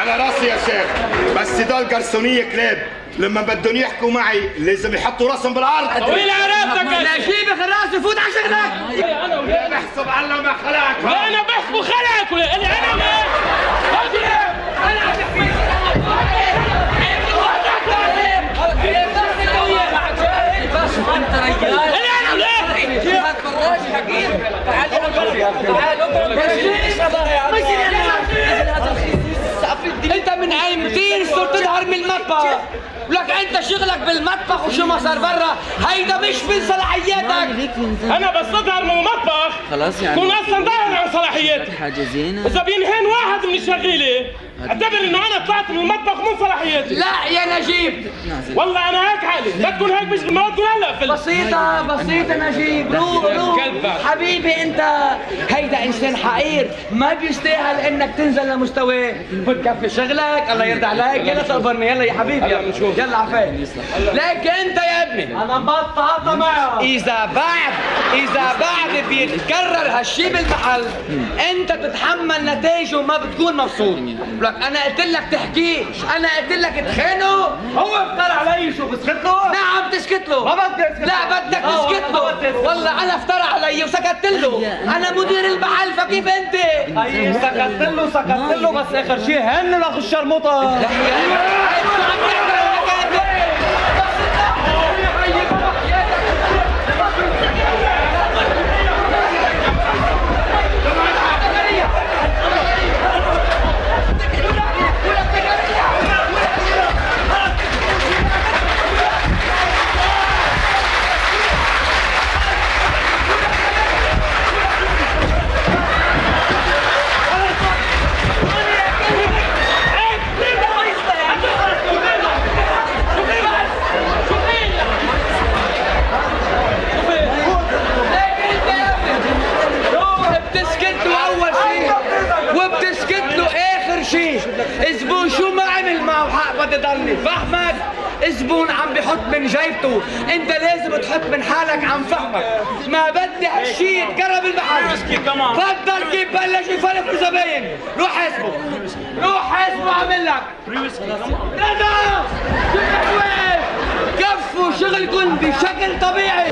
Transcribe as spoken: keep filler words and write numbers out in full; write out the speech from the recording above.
على راسي يا شيخ، بس دول قرصونية كلاب، لما بدهم يحكوا معي لازم يحطوا راسهم بالارض. طويل عرفتك لا جيبك الراس وفوت على شغلك. انا ولا بحسب الله ما خلقك. لا انا بحسبه خلقك ولا انا انا ما انا بحكي انت رجال انا ولا هات براش حقير. تعال انت من ايمتين صرت تظهر من المطبخ، ولك انت شغلك بالمطبخ وشو ما صار برا هيدا مش من صلاحياتك. انا بس اظهر من المطبخ خلاص يعني كون اصلا ظاهر عن صلاحياتي. حاجة زينة. اذا بينهين واحد من الشغيله اعتبر انه انا طلعت من المطبخ من صلاحياتي. لا يا نجيب والله انا هيك حالي، بدكم هيك مش ما بدكم هلا فل بسيطة بسيطة نجيب. روح روح حبيبي انت هيدا انسان حقير ما بيستاهل انك تنزل لمستواه. بتكفي شغلك الله يرضى عليك. يلا تقبرني يلا يا حبيبي يلا نشوف يلا عفاك. لكن انت يا ابني انا بطلت معه. اذا بعد اذا بعد بيتكرر هالشي بالمحل انت بتتحمل نتائجه وما بتكون مبسوط. لك انا قلت لك تحكيش، انا قلت لك تخانه. هو افترى علي شو بسكت له؟ نعم تسكت له. ما بدي اسكت. لا بدك تسكت له. والله انا افترى علي وسكت له. انا مدير المحل فكيف انت؟ اي سكت له سكت له بس اخر شيء هن لاخو الشرموطه. الزبون شو ما عمل معه حق بدي ضلني فهمك. الزبون عم بحط من جيبته، انت لازم تحط من حالك عن فهمك. ما بدي هالشي يتقرب المحل. تفضل كيف بلش يفلق الزباين. روح حاسبه روح حاسبه عامل لك ندى. كفوا شغلكم بشكل طبيعي.